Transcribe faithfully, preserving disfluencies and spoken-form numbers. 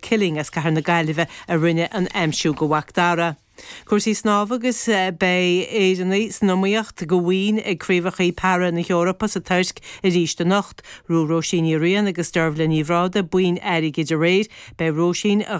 Killing as Cathair na Gaillimhe a rinne an aimsiú do Mhac Dara. Cúrsaí snámha agus beidh Éireannaigh san iomaíocht do bhoinn ag Craobhacha Para na hEorpa sa Tuirc arís anocht. Ghnóthaigh Róisín Ní Riain agus Deirbhile Ní Bhrádaigh boinn airgid aréir. Beidh Róisín a